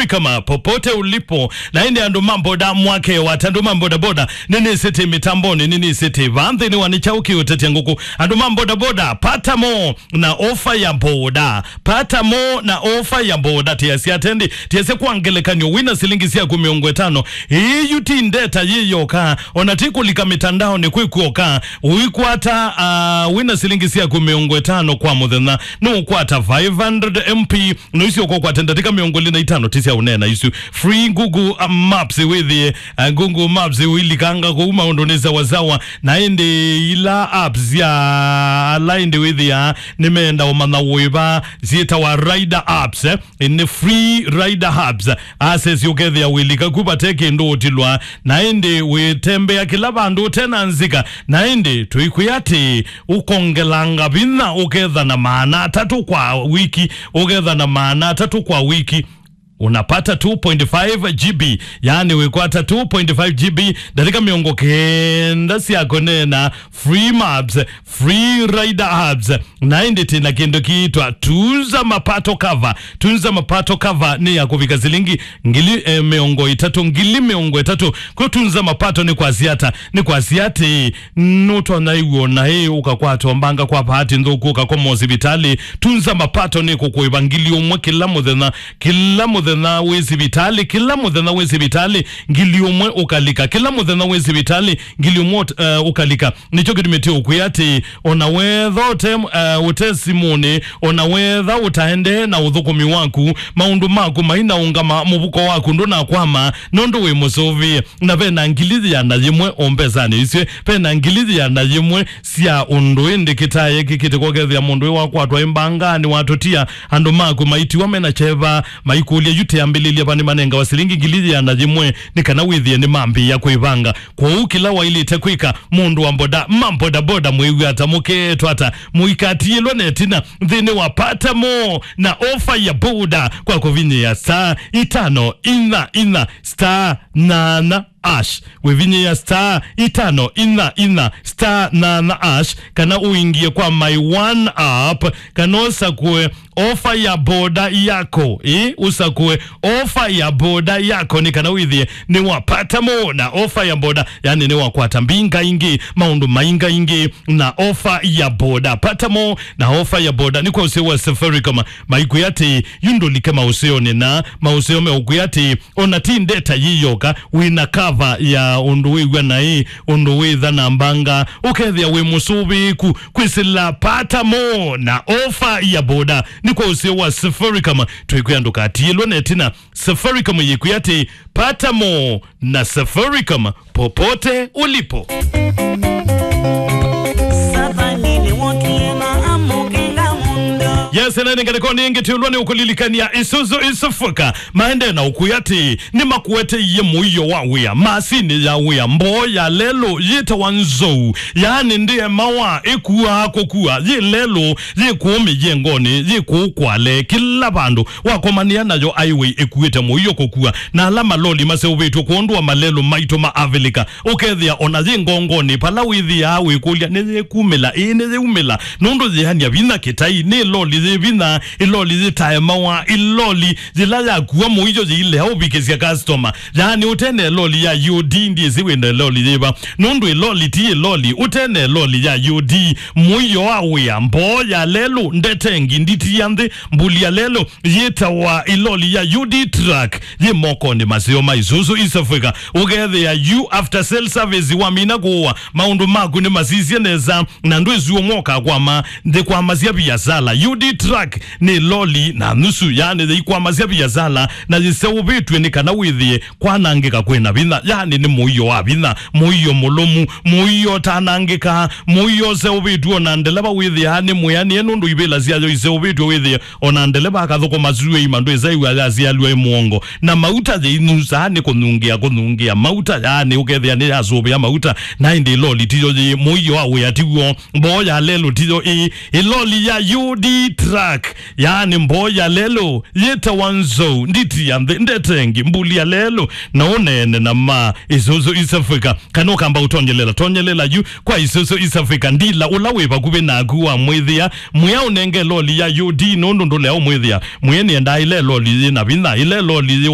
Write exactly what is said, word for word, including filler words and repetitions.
kama popote ulipo. Na ĩndĩ andũ ma boda mwake wata, andũ ma bodaboda, nĩnĩsĩte mĩtambonĩ, nĩnĩsĩte vaa nthĩnĩ wa nĩ kyaũ kĩũtetya ngũkũ. Andũ ma bodaboda, pata mo na ofa ya boda. Pata mo na ofa ya boda. Tiasya atendi, tiasya kwa ngelekany'o, wĩna silingi syaku mĩongo ĩtano. Ĩĩ yu ti ndeta yĩ yoka, ona ti kũlika mĩtandaonĩ kwĩ kuoka. Ũikwata, ah, wĩna silingi syaku mĩongo ĩtano kwa mũthenya, nũkwata five hundred M P, no icio ũkokwata ndatĩka mĩongo ĩlĩ na itano ti sya ũneena isu. Free Google, uh, Maps wĩthĩe, uh, Google Maps ũilikanga kũu maũndũ nĩ sawasawa. Na ĩndĩ ila apps ya ala ĩndĩ wĩthĩa nĩmeenda ũmanya wĩva syĩtawa rider apps, eh? Nĩ free rider apps. Access ũkethĩa wĩlika ku vate kĩndũ ũtilwa. Na ĩndĩ wĩtembea kĩla vandũ ũtena nzika. Na ĩndĩ tũikwĩa atĩ ũkongelanga vinya ũketha na maana atatũ kwa wiki, ũketha na maana atatũ kwa wiki. Unapata two point five G B, yaani wĩkwata two point five G B, ndatĩka mĩongo kenda sya kũneena, free maps, free rider apps. Na ĩndĩ tĩna kĩndũ kĩitwa Tunza Mapato Cover. Tunza Mapato Cover nĩ ya kũvika silingi ngili, eh, mĩongo ĩtatũ, ngili mĩongo ĩtatũ. Kwĩ Tunza Mapato nĩ kwasya ata? Nĩ kwasya atĩ nũtonya ĩw'o na ĩ ũkakwatwa mbanga kwa bahati nthũku ũkakoma ũsivitalĩ. Tunza Mapato nĩ kũkũĩva ngili ũmwe kĩla mũthenya, kĩla mũthenya wĩ sivitalĩ, kĩla mũthenya wĩ sivitalĩ, ngili ũmwe ũkalika, kĩla mũthenya wĩ sivitalĩ, ngili ũmwe ũt-, eh, ũkalika. Nĩkyo kĩtumĩte ũkwĩa atĩ ona wetha ũte, eh, ũte simũnĩ, ona wetha ũtaendee na ũthũkũmi waku, maũndũ maku mainaũngama, mũvuko waku ndũnakwama, nũndũ wĩ mũsũvĩe. Na ve na ngili yĩana yĩmwe o mbesanĩ isu, ve na ngili yĩana yĩmwe sya ũndũ ĩndĩ kĩtae kĩkĩte kwokethĩa mũndũ ĩ wakwatwa ĩ mbanga nĩ watũtia, andũ maku maitiwa mena kyeva, maikũlya yu tĩambĩlĩlya va nĩmanengawa silingi ngili yĩana yĩmwe nĩ kana wĩthĩe nĩmambĩĩa kwĩvanga. Kwoou kĩla waĩlĩte kwĩka, mũndũ wa boda, ma bodaboda mwĩw'a ata, mũkeetwa ata, mũikatiĩlwe na ĩtina nthĩnĩ wa pata mo na ofa ya boda kwa kũvinyĩa star itano inya inya star nana ash. Wĩvinyĩa star itano inya inya star nana ash, kana ũingie kwa My One app, kana ũsakũe ofa ya boda yako, ĩ, ũsakũe ofa ya boda yako, nĩ kana wĩthĩe nĩ wapata mo na ofa ya boda, yani nĩ wakwata mbinga ingĩ, maũndũ mainga ingĩ na ofa ya boda. Pata mo na ofa ya boda nĩ kwa ũseo wa Safaricom. Maikwĩa atĩ yu ndũlike maũseonĩ na maũseo meũkwĩa atĩ ona ti ndeta yĩyoka, wĩna kava ya ũndũ wĩw'a naĩ, ũndũ wĩtha na mbanga, ũkethĩa wĩ mũsũvĩĩku kwĩsĩla pata mo na ofa ya boda. Nĩ kwa ũseo wa Safaricom, twĩkwĩa ndũkatiĩlwe na ĩtina. Safaricom yĩkwĩa atĩ pata mo na Safaricom popote ulipo. Satani nĩwokie na amũkenga mũndũ. Yes, na nĩ ngalĩko nĩ ĩngĩ tũlwa nĩ ũkũlilikania Isuzu Isufuka. Maende na ũkwĩa atĩ nĩmakueteie mũio wa wĩa, masini ya wĩa, mboo ya lelũ yĩtawa nzou, yaani ndĩemawa, ĩkuaa kũkua, yĩ lelũ, yĩ kũũ mĩyengonĩ, yĩ kũũ kwale, kĩla vandũ. Wakomanĩa nayo highway ĩkuĩte mũio kũkua, na ala maloli maseũvĩtw'e kwondũ wa malelũ maitũ ma Avilika, ũkethĩa ona yĩ ngongonĩ, vala wĩthĩaa wĩkũlya, nĩyĩkumĩla, ĩĩ, nĩyĩumĩla, nũndũ yĩania vinya kĩtai, nĩ ĩloli yĩ vinya, ĩloli yĩtaemawa, ĩloli yĩla yakua mũio yĩilea ũvikĩsya customer. Yaani ũtene ĩloli ya U D, ndyĩsĩ wĩna ĩloli yĩva, nũndũ ĩloli ti ĩloli, ũtene ĩloli ya U D, mũio wa wĩa, mboo ya lelũ, ndetengi, nditi ya nthĩ, mbuli ya lelũ, yĩtawa ĩloli ya U D truck, yĩ mokonĩ maseo ma Isuzu East Africa. Ũkethĩa yu after sale service wamina kũũa, maũndũ maku nĩ masisye nesa, na ndwĩsĩ ũmwe ũkakwama, ndĩkwamasya viasala. U D truck nĩ loli na nusu, yaani yĩikwamasya viasala, na yĩseũvĩtw'e nĩ kana wĩthĩe kwanangĩka kwĩna vinya, yaani nĩ mũio wa vinya, mũio mũlũmu, mũio ũtanangĩkaa, mũio ũseũvĩtw'e, ona ndeleva wĩthĩaa nĩ mwĩanĩe nũndũ ivĩla syayo iseũvĩtw'e, wĩthĩe ona ndeleva akathũkũma syũa ima ndwĩsa ĩw'a yasialw'a ĩ mũongo, na mauta yĩinyusaa nĩ kũnyungĩa, kũnyungĩa mauta, yaani ũkethĩa nĩ yasũvĩa mauta, na ĩndĩ ĩloli tiyo yĩ mũio wa wĩa tiw'o, mboo ya lelũ tiyo ĩ, ĩloli ya U D truck, yaani mboo ya lelũ yĩtawa nzou, nditi ya nthĩ, ndetengi, mbuli ya lelũ, na ũneene na ma Isuzu East Africa. Kana ũkamba ũtonyelela, tonyelela yu kwa Isuzu East Africa, ndila ũla wĩ vakuvĩ naku wa mwĩthĩa, mwĩa ũnenge loli ya U D nũndũ ndũlea ũmwĩthĩa. Mwĩe nĩendaa ĩla loli yĩ na vinya, ĩla loli yĩ